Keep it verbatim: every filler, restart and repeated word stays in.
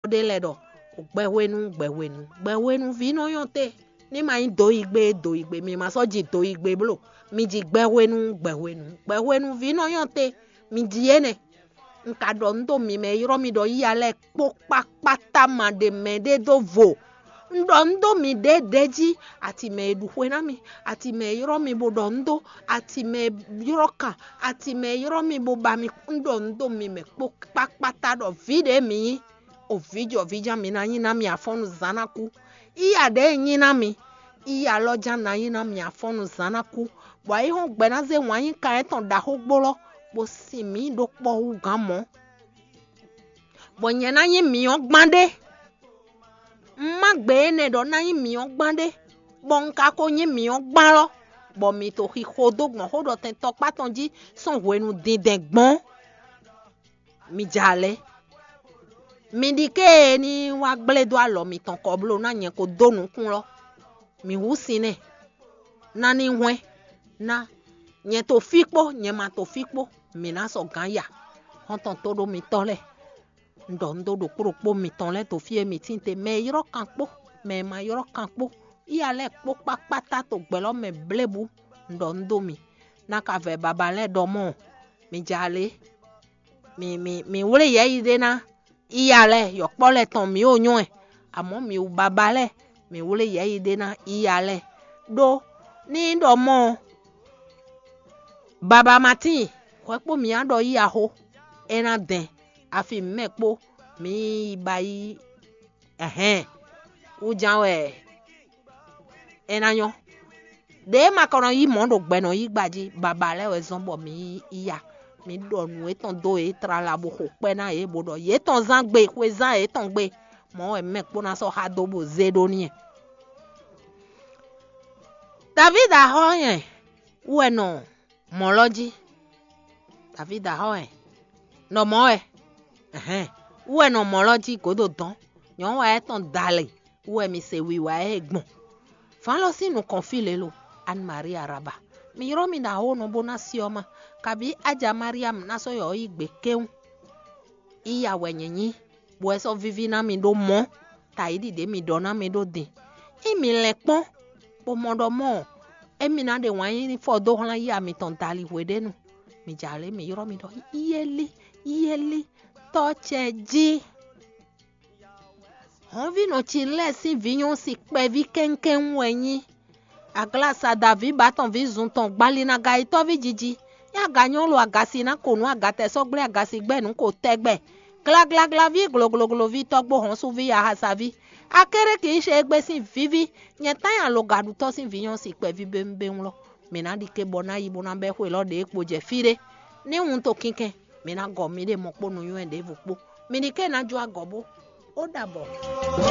ɖé lɛ́ɛ ɖɔ gbɛhwenu, gbɛhwenu, gbɛhwenuví nɔ nyɔ́ te. Ní ma nyí doyigbe doyigbe, mi ma sɔ́ ji doyigbe bló. Mi ji gbɛhwenu, gbɛhwenu, gbɛhwenuví nɔ nyɔ́ te. Mi ji énɛ́. Un ka ɖɔ nǔ dó mi mɛ e ylɔ́ mi ɖɔ yíya lɛ́ɛ kpó kpákpáta ma ɖe mɛ ɖé dó vo. Un ɖɔ nǔ dó mi ɖěɖě jí, ati mɛ e ɖu xwe ná mi, ati mɛ e ylɔ́ mi bó ɖɔ nǔ dó, ati mɛ e ylɔ́ kan, ati mɛ e ylɔ́ mi bó ba mi. Un ɖɔ nǔ dó mi mɛ kpó kpákpáta ɖɔ vǐ ɖě mi nyí. O vǐjɔvǐjan mi ná nyí ná mi afɔ́nnu zǎn ná kú. Iya ɖě e nyí ná mi, iya lɔ ján ná nyí ná mi afɔ́nnu zǎn ná kú, bɔ ayǐhɔ́ngbe ná zé wǎn yí kan étɔn ɖaxó gbólɔ́, bó sin mǐ ɖó kpɔ́ hú gǎn mɔ̌. Bɔ nyɛ ná nyí mǐ ɔ́ gbán ɖé. Un má gbe énɛ́ ɖɔ ná nyí mǐ ɔ́ gbán ɖé, bɔ un ka ko nyí mǐ ɔ́ gbán lɔ́, bɔ mǐ to xixo dó gbɔn xó ɖɔ tɛn tɔkpá tɔn jí sɔ́ hwenu dindɛn gbɔn. Mi ja lɛ́. Mi ɖi ké e ní wá gblé dó alɔ mitɔn kɔ bló ná nyɛ ko dó nukún lɔ́. Mi hú sin nɛ́. Ná ní hwɛ́n ná nyɛ to fí kpó, nyɛ ma to fí kpó, mǐ ná sɔ́ gǎn ya. Xɔ́ntɔn tóɖó mitɔ́ lɛ́ɛ, un ɖɔ un dó ɖokpó ɖokpó mitɔn lɛ́ɛ dó fí e mǐ tín te, mɛ e ylɔ́ kan kpó, mɛ e ma ylɔ́ kan kpó, iya lɛ́ɛ kpó kpákpáta to gbɛ̌lɔ́ mɛ blébú. Un ɖɔ un dó mi, ná ka vɛ baba lɛ́ɛ ɖɔ mɔ́, mi ja lě. Mi mi mi wlé yɛ̌yi ɖé ná iya lɛ́ɛ, yɔ̌kpɔ́ lɛ́ɛ tɔn mǐ o nyɔ́ ɛ, amɔ̌ mǐ wú baba lɛ́ɛ, mǐ wlé yɛ̌yi ɖé ná iya lɛ́ɛ. Ɖó ní ɖɔ mɔ́ ɔ́, baba ma tíin, hwɛ kpó mǐ á ɖɔ yí axó, é ná dɛn, afi mǐmɛ kpó mǐ yi ba yí. Ɛhɛn, wúján wɛ é ná nyɔ́. Ɖě ma ka nɔ yí mɔ̌ ɖo gbɛ nɔ yí gba jí, baba lɛ́ɛ wɛ zɔ́n bɔ mǐ yi ya. Mǐ ɖɔ nǔ étɔn dó yě tlala bó xo kpɛ́ ná yě, bó ɖɔ yě tɔn zán gbe, xwe zán yě tɔn gbe. Mɔ̌ wɛ mɛ kpó ná sɔ́ xá dó bó zé ɖó n'i. Davídi axɔ́ nyɛ wú wɛ nɔ mɔ̌ lɔ jí. Davídi axɔ́ wɛ nɔ mɔ̌ wɛ. Ɛhɛn, wú wɛ nɔ mɔ̌ lɔ jí gǒdo dɔn. Nyɔ̌nu wa étɔn dalɛ wú wɛ mi se wiwa ɛ gbɔn. Vǎn lɔ sín nukɔn fí lě lo, Anne Marie Araba. Mi ylɔ́ mi ɖo awǒnɔ bó ná si ɔ́ ma, kabǐ Aja Mariam ná sɔ́ yɔ ɔ́ yí gbe kéwún. Iya wɛ nyɛ nyí, bɔ é sɔ́ víví ná mi ɖó mɔ̌, tayiɖi ɖě mi ɖɔ ná mi ɖó din. Ényí mi lɛn kpɔ́n, bó mɔ ɖɔ mɔ̌, émí ná ɖe wǎn yíyí fɔ dó hlán yí mitɔn dali hweɖénu. Mi jɛ alě mi ylɔ́ mi ɖɔ: Yéli, yéli, tɔ́ ce jí. Hɔ̌nvínɔ Cilɛ́ɛ sín vǐ nyɔ́si kpɛví kɛ́nkɛ́n wɛ nyí. Aglasa Davíba tɔn ví zun tɔn gbalinaga yi tɔ́ví jiji. Nyí aga nyɔ́ lo agasi ná ko nǔ agatɛ sɔ́ gblé agasi gbɛ́ nǔ ko tɛgbɛ. Glaglaglaví glogloglóví tɔ́gbó hɔ́nsúví yahasaví. Akéréki yí ṣe égbé sín víví. Nyɛ tán nyi alogaɖutɔ́ sín vǐ nyɔ́si kpɛví béwúnbéwún lɔ. Mǐ ná ɖi ké bɔ ná yi bó ná bɛ́ xwe lɔ ɖě kpo jɛ fí ɖé. Ní wun to kinkɛn, mǐ ná gɔ miɖée mɔ kpó nǔnywɛ́ ɖěvo kpó. Mi ɖi ké ná jó agɔ bó. Ó ɖabɔ.